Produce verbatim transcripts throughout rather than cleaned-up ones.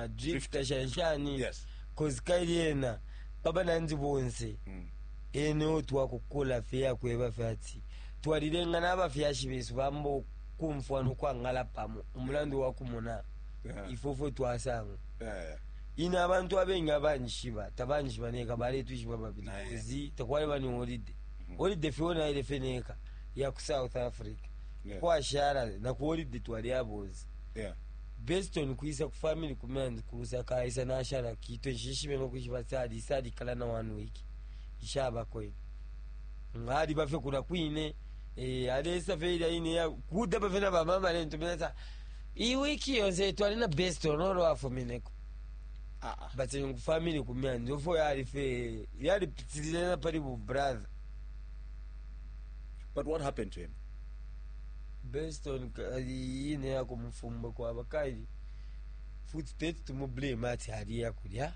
Drifta shanshani. Yes. Cause kaili ena baba nanzi bonse Mm. ene otwakukula fye yakweba fye ati twalilenga n'abafyashi besu bamba kumfwa nokwangala pamo umulandu wakumona. Yeah. Ifofo twasanga Yeah, yeah. ine abantu abengi abanjishiba tabanjishiba neka baletwishiba babili. Naye. Kozi takwali ni holiday, holiday fye naile fye neka ya ku South Africa. Yeah. Kwashala na ku holiday twali abozi Yeah. based on kwisa ku family kumyanzi kurusa kaisa nashala kito nshishibe nokwishiba sali salikala na one week ishabako ine ngali bafe kula kwine, eh, alesa fe ilya ine ya kuda bafe na bamama lentumina sa iyi wiki yonse twali na best on olo afumineko. Ah, ah. But ku family kumyanzi ofo yali fe yali pitilile na pali bu brother. But what happened to him? Based on kali ine yako mufumbo kwa bakaili futi teti tumublame ati ali yakulya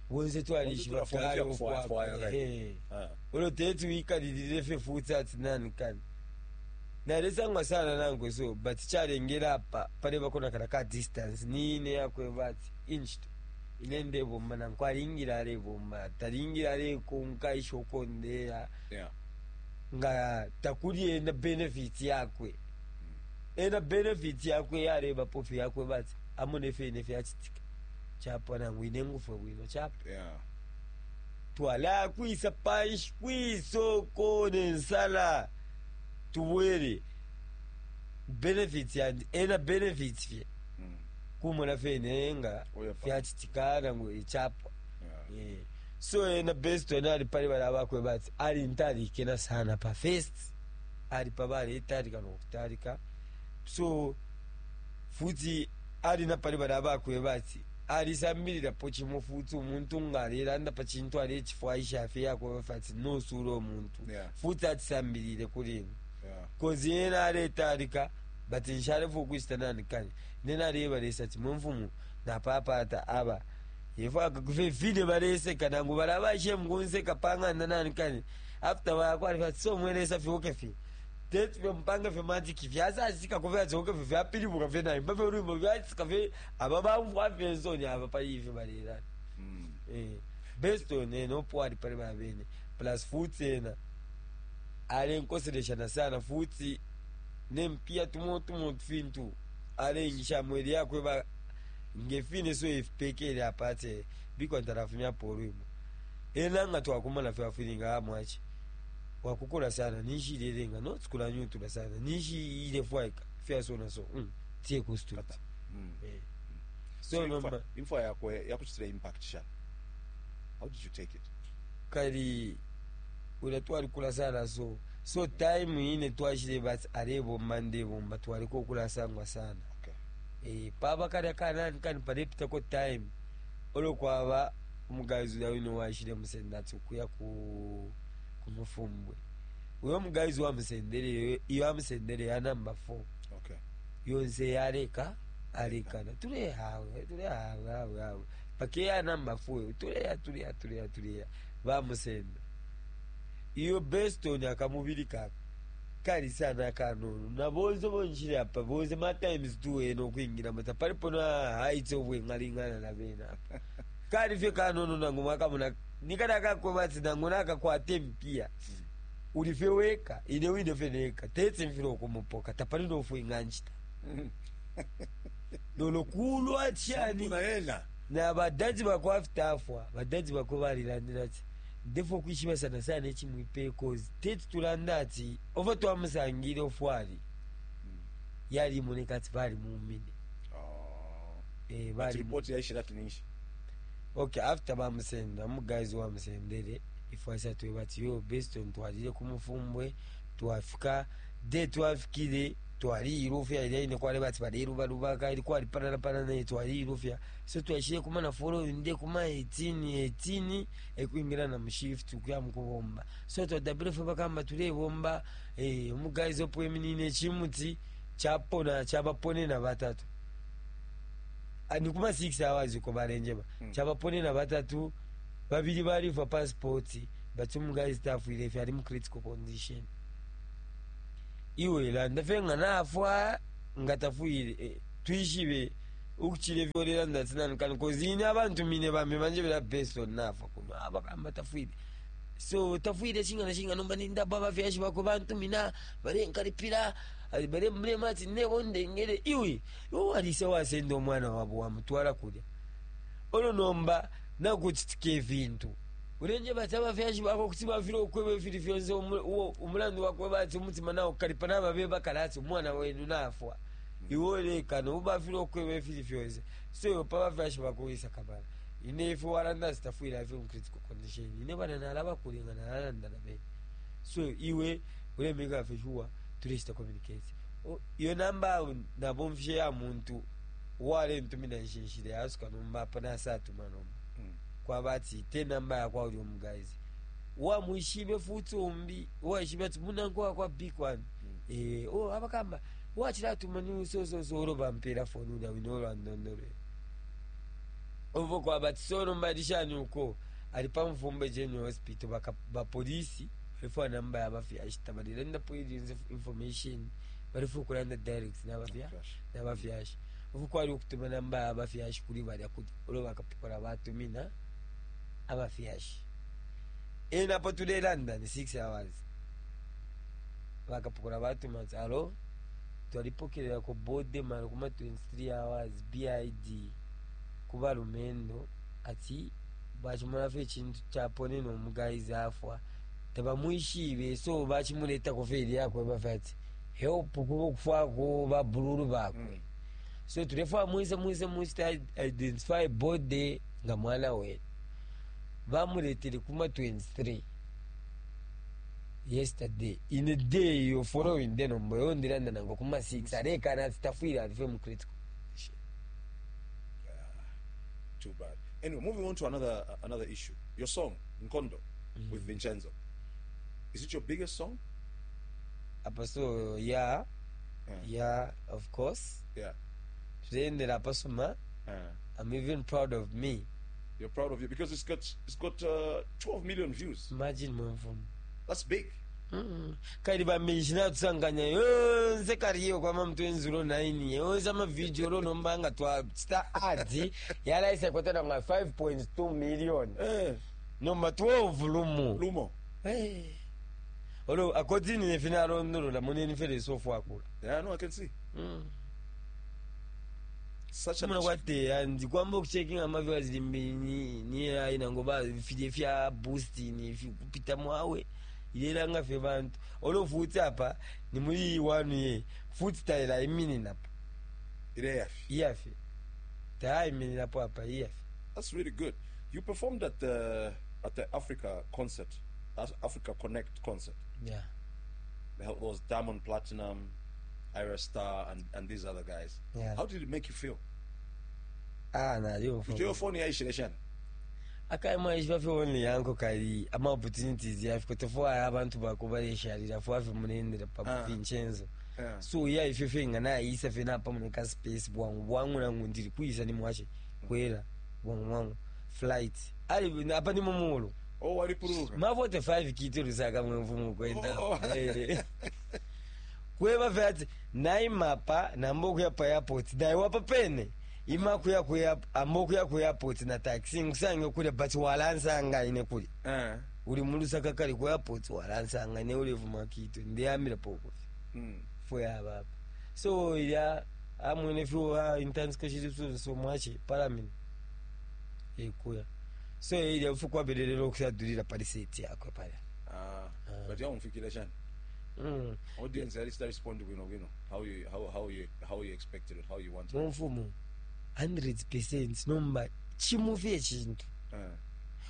bonse twalishiba. Bonse Kale. twafwaya- fwaya, right. Ehe. Ah. Ulo teti wikalilile fe futi ati nani kani nalesangwa sana nankwe, so but chalengera apa palebako nakala ka distance niine yakweba ati inchito ine ndebomba nankwe alingile alebomba talingile alekonka ishoko ndeya. Yeah. Nga takuli ena benefit yakwe, ena benefit yakwe yareba pofi yakwe bati amone fene fyachitika chapwa nangu ine ngufe bwino chapwa. Yeah. Twala kwisa panshi kwisoko nensala tubwere benefit yandi ena benefit fye Mm. kumona fene nga Oya pa. fyachitika nangu ichapwa. Yeah. Eh, so ena best ena ali pali bala bakwe bati ali ntalikena sana pa first ali pa bale italika nokutalika, so futi ali na pali bala bakwe bati alisambilirapo chimo futi omuntu nga alelanda pa chintu alechifwaisha afe yakweba fati nosula omuntu. Yeah. Futi atisambilire kuli ine. Yeah. Kozi ena aletalika but nshalefa okuchita nani kani nena alebalesa ati mwe napapata aba ifo akakufe fine baleseka nangu balabashe mukunseka pang'anda nani kani after bakwalifa so mwelesa fyoke fye teti fye mpanga fye matiki fyasasika kufe atsoke fye fyapilibuka fye naimba fye lwimbo fyasika fye aba bamfwa fye nsoni aba pali ife balelana. Mm. Eh, based on ena opo ali pali babene plus futi ena alenkoseleshana sana futi nempia tumo tumo fintu alengisha mweli yakwe ba ngefine so ifipekele apate bikwantarafumya polwimo ena nga twakumana fyafilinga amwachi wakukula sana nishililenga notsikula nyutula sana nishi ile fwaika fyasona so mm, tie kustuta. Mm. Eh. So, So imfa, nomba imfa yakwe yakuchitira impact sha. How did you take it? Kali ula twalikula sana, so so time ine twashile bati alebomba ndebomba twaliko okulasangwa sana. Okay. Eh, paba kalya kanani kani palepitako time olo kwaba omugazi uya wino washile musenda ati okuya ku kumufumbwe uyo omugazi wamusendere iyo amusendere ya number four. Okay. Yonse yaleka alekana tulehawe tulehawe hawe hawe pake ya number four tuleya tuleya tuleya tuleya bamusenda iyo beston akamubiri kako kali sana kanono na bonse bonshile apa bonse ma times two eno okwingira mata palipo na height obwengalingana na bena apa kali fye kanono nangu mwakamuna nikada kakweba ati nangu nakakwata empia uli fye weka ine wine fye neka tetse mfile okumupoka tapali nofwinga nchita lolo kulwa chani. Kuna ena. Na badadi bakwe after afwa badadi bakwe balilandila ati ndefo okwishiba sana sana echimwipe kozi teti tulanda ati ofo twamusangile ofwali yalimoneka ati balimumine. Oh. Eh, But bali report yaishira tinishi. Okay, after bamusenda omugazi wamusendere ifwasa tweba ati yo beston twalile kumufumbwe twafika de twafikile twali ilufya ilyaine kwali bati balelubalubaka ili kwali panana naye twali ilufya so twashile kumana following nde kuma eighteen eighteen ekwingira na mushift ukuya mukubomba so twadabile fwe bakamba tulebomba, eh, omugazi opweminine echimuti chapona chabaponena batatu. Ah, ni kuma six hours uko balenjeba. Mm. Chabaponena batatu babili balifa passport but omugazi tafwile ife ali mu critical condition iwe landa fe nga nafwa nga tafwile, eh, twishibe. Ukuchile vyolera ndatinani kani cause ine abantu mine bambi banje bela based on nafa kuno abakamba tafwile so tafwile chinga na chinga nomba nindaba abafyashi bako bantumina balenkalipira balemulema ati nebo ndengere iwe iwe walise wasenda omwana wabo wamutwala kulya olwo nomba nakuchitika evintu ulenje bati abafyashi bako kuti bafile okweba efili fyonse omulandu wakweba ati omutima nawo kalipa nababe bakala ati omwana wenu nafwa iwe olekana ubafile okweba efili fyonse so iwe pa bafyashi bako wisa kabala ine ife walanda sitafwile afe mu critical condition ine bana nalaba kulenga nalalanda nabe so iwe ulemeka afe sure tuleshita communicate iyo namba nabomfishe ya muntu walentumina nshinshile yasuka nomba apa nasatuma nomba Mm. kwaba ati te namba yakwa uli omugazi wamwishibe futi umbi waishibe ati munanko wakwa big one Mm. eh oh abakamba wachilatuma ni so so so olo bampera phone ulya wino olwandondolwe ovo kwaba ati so nomba lishani uko ali pamufumba general hospital baka bapolisi balifuwa namba yabafyashita balilanda police information balifuwa kulanda direct nabafya Flash. nabafyashi uku kwali okutuma namba yabafyashi kuli balya kuti olwo bakapokola batumina abafyashi ena apo tulelanda ni six hours bakapokola batuma ati alo twalipokelerako bode mara kuma twenty-three hours bid kubalumendo ati bachimulafa echintu chaponene omugayizi afwa tabamwishibe so bachimuletako feri yakwe bafe ati help kuba okufwako babululu bakwe Mm. so tulefa mwise mwise mwise ta identify body nga mwana wenu bamuletele kuma twenty-three yesterday in a day yo following day nombo yondiranda nango kuma six alekana ati tafwile alife mu critical condition Too bad. Anyway, moving on to another uh, another issue. Your song Nkondo with Vincenzo. Is it your biggest song? apa so yeah Yeah. yeah of course Yeah. tulendera apasuma Uh, I'm even proud of me you're proud of you because it's got it's got uh, twelve million views. Imagine mwemfumu That's big. Mm. Kali bamenshi natusanganya yonse kariyo kwama mutwenzulo nine yonse amavideo lonomba nga twachita adi yalaisa kwatana nga five point two million Eh, nomba twelve lumu Lumo. Eh. Olo according ne fina alondolola muneni fere sofu akula Yeah, no, I can see. Mm. Such an muna kwateya ndikwamba okucheckinga amaviewers limbi ni ni aina ngoba fije fya boost ni kupita mwawe ilela fe bantu olo futi apa ni muri one ye futi taila imini napo achievement. iyafe ta imini napo apa iyafe That's really good. You performed at the at the Africa concert, Af- Africa Connect concert. Yeah. There was Diamond Platinum, Ira Star, and, and these other guys. Yeah. How did it make you feel? Ah na yo Your phone ya ishileshana. akaima ishiva fe only yanko kali ama opportunities yafe kutofo abantu bakubaleshalira fo afe munendera pa Ah. Vincenzo Yeah. so ya ife fe nga naayisa fe napamuneka space bwangu bwangu nangu ndiri kuisa ni mwache kwera bwangu bwangu flight ali apa ni mumulo Oh, walipuruka. ma forty-five kiti lusaka mwemfumu kwenda Oh. Eh. Kweva fe ati naimapa nambo kuya pa airport naiwapa pene ima kuya kuya ambo kuya ku airport na taxi nkusange kulya but walansanga ine kulya Eh. uli mulusaka kali ku airport walansanga ne ulevuma kito ndiyamira pokofi Mm. foya baba so ya amwene fiwa intense kashiri so mwache palamini ekuya so ilya fukwa belelelo kusadulira pali seti yakwe pala Ah, but ya umfikileshana. mm. Audience at least respond bwino bwino. How you how how you how you expected it, how you wanted it. mumfumu one hundred percent nomba chimufi echintu Eh.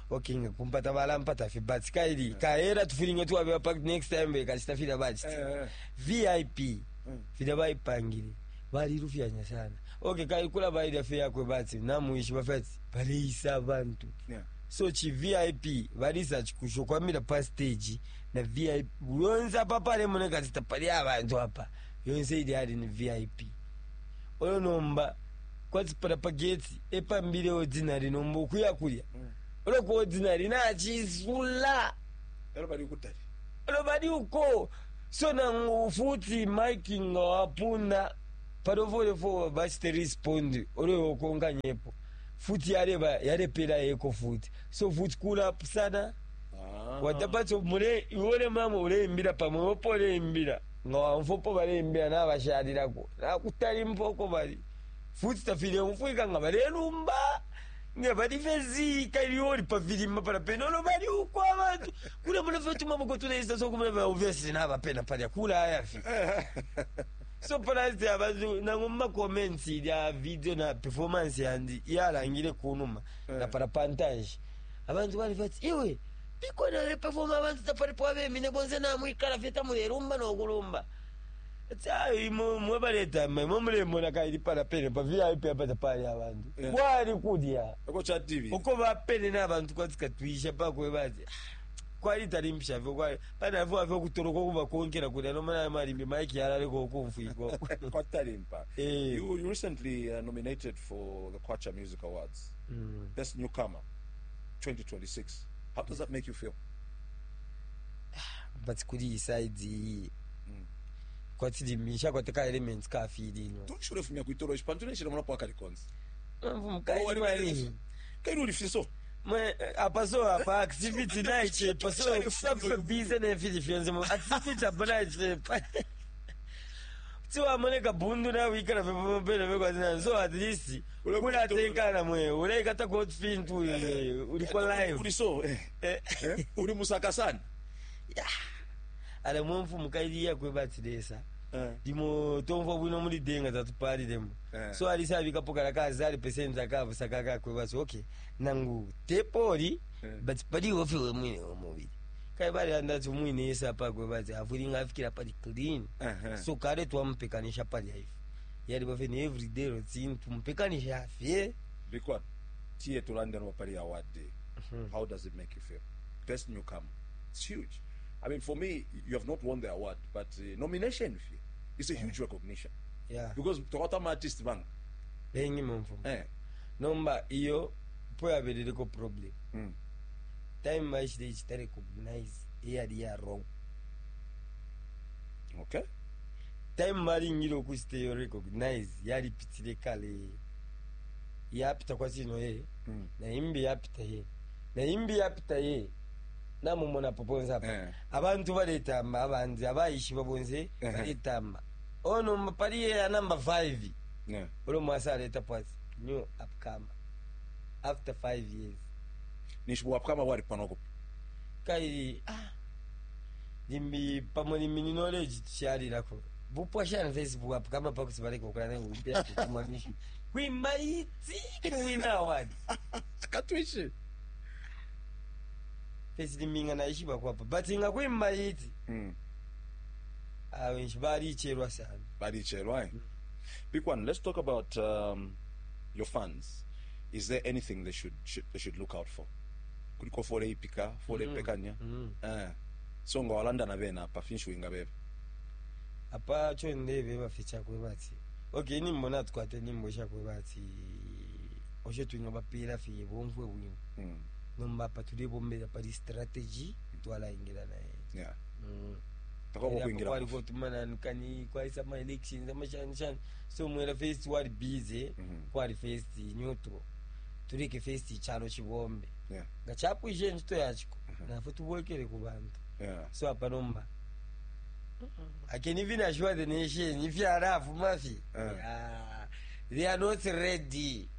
Okay nga kumpata balampata fe but kaili kaera tufilinga tuwabewa pa next time bekachita bachita Eh. V I P Mm. fila baipangile balilufyanya sana okay kaikula bailya fe yakwe bati namuishi bafati baleisa abantu Yeah. so chi V I P balisa chikusho kwamira pa stage na V I P yonse apa pale munekatita pali abantu apa yonse ili ali ni V I P oyo nomba kwatipala pa gate epambile ordinary nomba okuya kulya Mm. olwo ku ordinary nachisula Everybody kutali. olo bali uko so nangu futi mike nga wapunda Palo bachite respond olo okonganyepo futi yareba yarepera yeko futi so futi kula sana. Ah. Watapacho mule iwole mama uleimbira pamwe opo uleimbira nga wamfopo baleimbira n'abashalirako nakutali mpoko bali futi tafile mfwika nga balelumba nga bali fezika ilioli pavilima pala penolo bali uko abantu kula muna fe tumaboko tunaisa so kumuna ba obviously n'abapena palya kula ayafi so pala abantu nango mu comments ya video na performance yandi yalangire kunuma na pala pantanji abantu bali bati iwe bikona le perform abantu tapalipo abemine bonse namwikala fye tamulerumba nokulumba tsayi mwe baleta mwe mulemona kaili pala pene pa V I P apa tapali abantu. Yeah. Kwali kulya Eko cha T V. Uko bapene n'abantu kwatikatwisha pakwe bati kwali talimpisha fyo kwali panafo afyo kutoloka kubakonkera kulya nomana malimbi maiki yalaleko okumfwikwa. Kwatalimpa. Eh. You you recently uh, nominated for the Kwacha Music Awards, Mm. Best Newcomer, twenty twenty-six. How does that make you feel? But kuri iyi side iyi kwatilimisha kwateka elements ka feeling. Tushule fumya kuitoro ispantu neshile mwana kwa kalikonzi. Mkaili Kairi ulifiso. mwe apa so apa activity naichepa so safe busy nefili fyonse mu activity apa naichepa tiwamoneka bundu nawikala fepopene vekwazina so at least kulatenkana mwe ulaikata kot fintu uliko live. Uliso. Eh. Eh. Eh? Uri musakasana. Ala mwemfu mukailiya kwebatilesa Eh. limo tomva bwino muli denga tatupalilemo. Eh. So alisabikapo kala kazali pesenti akavusa kakwebasi okay nangu tepoli. Eh. But paliwo fiwe mwine omubiri kai bali andati mwine yese apa kwebati avulinga afikira pali clean. Uh-huh. So kale twamupekanisha pali aife yali bafene everyday routine tumupekanisha afye. Big one. Tiye tulande no pali award day. How does it make you feel? Best newcomer. It's huge. I mean, for me, you have not won the award, but uh, nomination it's a huge recognition. Yeah. Because tokota artist bang. Bengi mumfu. Eh. Nomba iyo po yaberereko problem. Mm. Time baishile ichita recognize eyali ya wrong. Okay. Time balingile okuchita iyo recognize yalipitile kale yapita kwachino ye. Mm. Naimbi yapita ye naimbi yapita ye namumona poponse apa. Eh. Abantu baletamba abandi abaishiba bonse. Eh. Baletamba ono pali ye ya number five. Yeah. Ulo mwasa aleta pwasi new upcomer after five years. Nishuwa kama wali panoko. Kaili ah limbi pamwe limbi ni knowledge tushalilako bupwa shana Facebook apo kama pakusibaleka okulana upya kukumamisha kwimaiti kuwina award. Katwishi. Fesi limbinga naishiba kwapa but nga kwimaiti. Mm. Awenshi balicherwa sana. Balicherwa. Eh? Big one. Let's talk about um, your fans. Is there anything they should, should they should look out for? Kuliko fole ipika, fole Mm. pekanya. Mm. Eh. So nga walanda na bena apa finshu ingabebe. Apa chonde bafe chakwe bati okay nimbo natukwate nimbo chakwe bati osho twinga bapira fiye bomfwe bwino. Mm. Nomba apa tulibombera pali strategy twalaingira naye. Yeah. Mm. Takoko kuingira. Kwali kotumanani kwaisa ma elections amashanishani so mwera first wali busy. Mhm. Kwali first neutral tuleke first chalo chibombe. Yeah. Nga chapwishe ntchito yachiko nafe tubwekere ku bantu. Yeah. So apa nomba I can even assure the nation if you are rough mafi. Eh. Ah, they are not ready.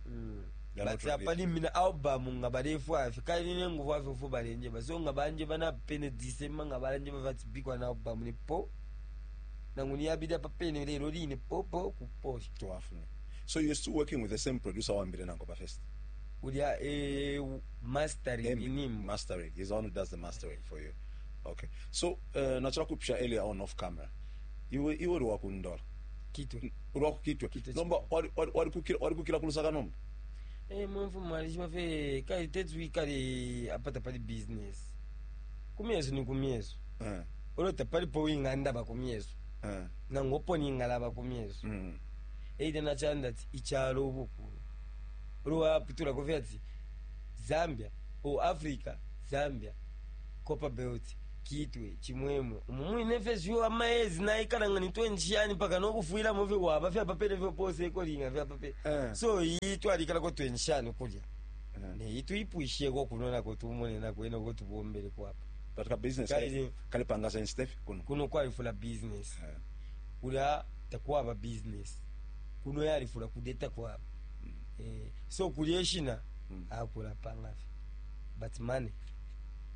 Mm. They are But not ready. apa nimina album nga balefu afe kali nengufu afe fu balenje ba so nga banje bana pene December nga balanje bavati bikwa na album ni po nangu niyabida pa pene lero line po po kuposha. Tuwafune. So you're still working with the same producer wambire nango pa first? Ulya eh, mastering Em- inimbo. Mastering. He's the one who does the mastering for you. Okay. So uh, nachira kupisha earlier on off camera. Iwe iwe uri wakundola. Kitwe. Uri wakukitwe. Kitwe. Nomba wari wari wari kukira wari kukira kulusaka nomba. Eh, mwemfu mwalishima fe kali tetsu ikali apata pali business kumyesu ni kumyesu. Eh. Olota palipo wingandaba kumyesu. Eh. Nangopo ningalaba kumyesu. Mm. Eita nachanda ati ichalo ubukulu olwaputula kufi ati Zambia o Africa Zambia Copper Belt. Kitwe, Chimwemwe, umumwine fesyo amaezi naikalanga ni twenty yani paka nokufuilamo fye waba fyapapele fyopose ekolinga fyapapele. Eh. So iyi twalikalako twenty shani kulya. Eh. Neyi tuipwisheko kuno nako tumone nako eno ko tubombele kwapa. But ka business Kali- kalipanga sense step kuno. Kuno kwalifula business. Eh. Kulya takwaba business. Kuno yalifula kudeta kwaba. Eh, so kulya eshina Mm. akula pangafi. But money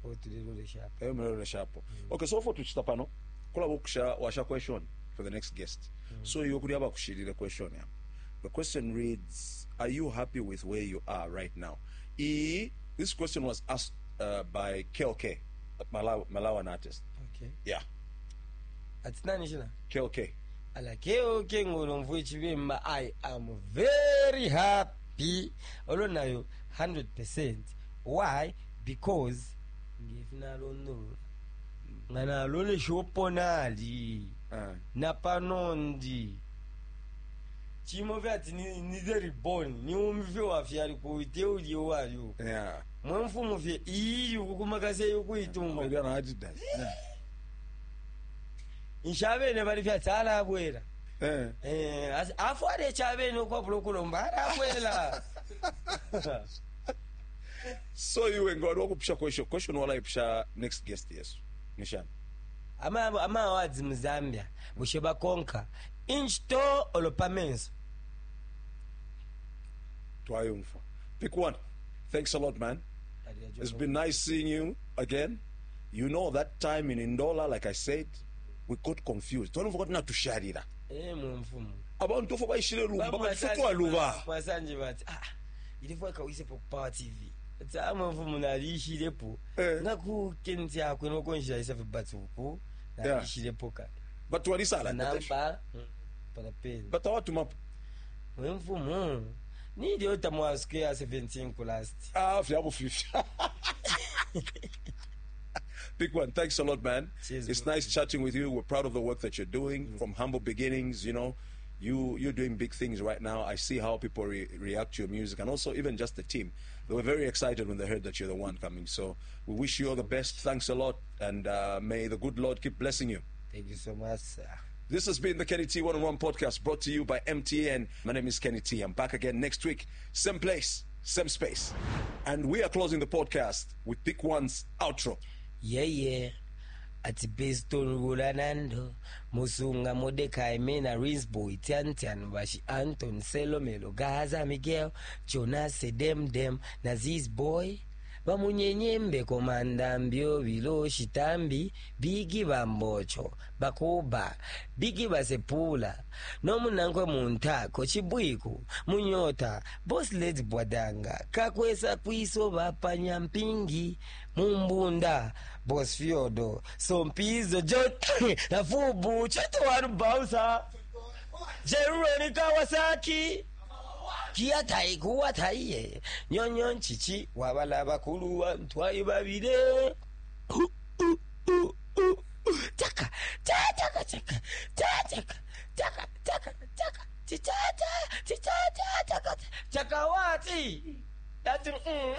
otulelolesha apa. Eyo mlelo shapo. Okay, so for tuchita pano kula bokusha washa question for the next guest. So iyo kuli abakushirire question ya. The question reads, are you happy with where you are right now? E this question was asked uh, by K L K, a Malawi, Malawian artist. Okay. Yeah, Ati nani shina? K L K. Alakeo kengolo mvu chibemba, I am very happy. Olo nayo one hundred percent. Why? Because ngefinalondolola nga nalolesha oponali Uh, napanondi chimo vyati ni, ni the reborn ni umve wafyali kuite uli walio yeah. mwemfumu fye ili ukukumakase ukuitunga. Uli ana Adidas. Yeah. Nshavene bali fyati alabwera. Eh. Eh, asi- afu ale chavene okwabula okulomba alabwela. So iwe ngwali wakupusha question question wala ipusha next guest yesu. Nishana. Ama ama awards mu Zambia bushe bakonka inchito olopamenso. Twayumfa. Pick one. Thanks a lot, man. It's been nice seeing you again. You know that time in Ndola, like I said, we got confused. Twalumva kuti natusharira. Eh, mumfumu. Abantu fo baishire lumba batufutwa. Mwasanje bati ah ilifo akawisepo Power T V ati ah mumfumu nalishilepo. Eh. Ngakukenzi akwe nokonjira isafe batuku nalishilepo ka. But walisala. Namba palapeni. But awatuma Mwemfumu nilyo tamwasuke ya seventeen ku last. Ah, fyabo fifty. Big one. Thanks a lot, man. Cheers, It's bro. nice chatting with you. We're proud of the work that you're doing from humble beginnings. You know, you you're doing big things right now. I see how people re- react to your music, and also even just the team. They were very excited when they heard that you're the one coming. So we wish you all the best. Thanks a lot, and uh, may the good Lord keep blessing you. Thank you so much, sir. This has been the Kenny T One on One podcast, brought to you by M T N. My name is Kenny T. I'm back again next week, same place, same space. And we are closing the podcast with Pick One's outro. Yeye ati Beston Gulanando Musunga Modekai Mena Rinsboy Tiantian Bashi Anton Selomelo Gaza Miguel Jonas Demdem Naziz Boy bamunyenyembe komanda mbyo bilo shitambi bigi bambocho bakuba bigi basepula nomunankwe muntako chibwiku munyota boss lady bwadanga kakwesa kwiso bapanya mpingi mumbunda boss fyodo sompizo jo nafubu chito bausa Jeruroni Kawasaki kiatai kuwataiye nyonyo nchichi wabala bakulu wantwai babire taka taka taka taka taka taka taka chichacha chichacha taka chakawati. That's mm.